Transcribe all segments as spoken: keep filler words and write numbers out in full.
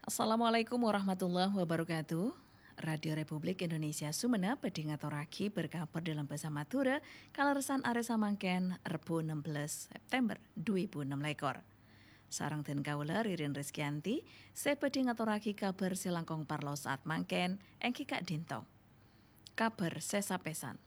Assalamualaikum warahmatullahi wabarakatuh. Radio Republik Indonesia Sumenep bhâdhi ngatorraghi bâr-kabhâr dâlem bhâsa Madhurâ, kalerressan arè samangkèn, Rebbhu ennem belas September dhu èbu ennem lèkor. Sareng dhân kaulâ, Ririn Rizkyanti, sè bhâdhi ngatorraghi kabhâr sè langkong parlo saat mangkèn, èngghi ka'dinto. Kabhâr sè sapèsan.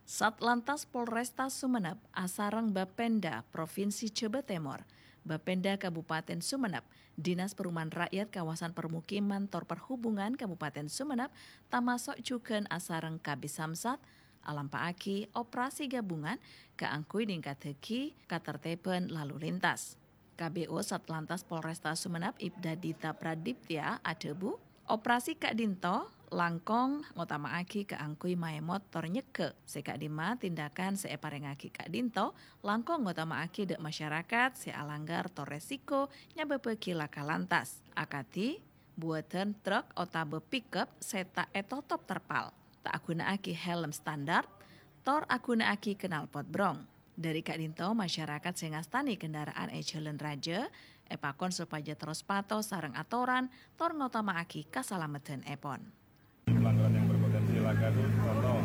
Satlantas Polresta Sumenep asareng Bapenda Provinsi Jhâbâ Tèmor, Bapenda Kabupaten Sumenep, Dinas Perumahan Rakyat Kawasan Permukiman tor Perhubungan Kabupaten Sumenep, tamaso' jhughân asareng Kabid Samsat, alampa'aghi operasi gabungan kaangghuy ningkaddhâghi katertèbhân lalu lintas. K B O Satlantas Polresta Sumenep, Ibda Dita Pradiptya, adhâbu, operasi ka'dinto langkong ngotama'aghi kaangghuy maèmot tor nyegghâ sè ka'dimma tindakan sè èparèngaghi ka'dinto langkong ngotama'aghi dâ' masyarakat sè alanggar tor resiko nyabâbbhâghi laka lantas, akadhi buwâdhân truk otabâ pickup sè ta' ètotop terpal, ta' aghuna'aghi helm standar, tor aghuna'aghi knalpot brong. Dâri ka'dinto, masyarakat sè ngastani kendaraan è jhâlân rajâ èpakon sopajâ terros pato sareng atoran tor ngotama'aghi kasalameddhân èpon. Pelanggaran yang berpotensi laka itu contoh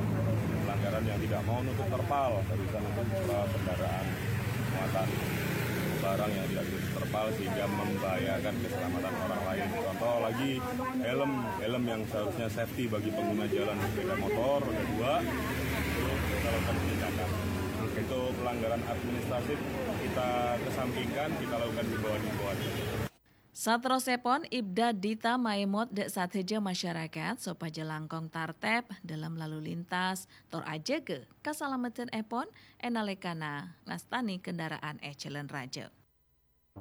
pelanggaran yang tidak mau nutup terpal, barusan itu, eh, kendaraan muatan barang yang tidak nutup terpal sehingga membahayakan keselamatan orang lain. Contoh lagi, helm, helm yang seharusnya safety bagi pengguna jalan sepeda motor, roda dua, itu kita lakukan penindakan. Itu pelanggaran administratif, kita kesampingkan, kita lakukan himbauan-himbauan. Saterrossèpon, Ibda Dita maèmot dâ' sadhâjâ masyarakat sopajâ langkong tartèb dâlem lalu lintas, tor ajâgâ kasalameddhân èpon è nalèkana ngastani kendaraan è jhâlân rajâ.